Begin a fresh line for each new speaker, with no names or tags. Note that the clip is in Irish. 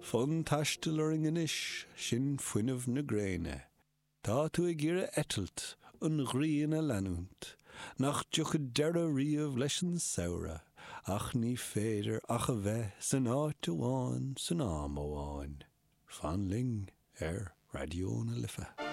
Fonn taistil orainn anois, sin fuinneamh na gréine. Tá tú ag iarraidh eitilt, an ghrian a leanúint, nach dtiocfaidh deireadh riamh leis an samhradh, ach ní féidir ach a bheith san áit amháin san am amháin. Fan linn ar Raidió na Life.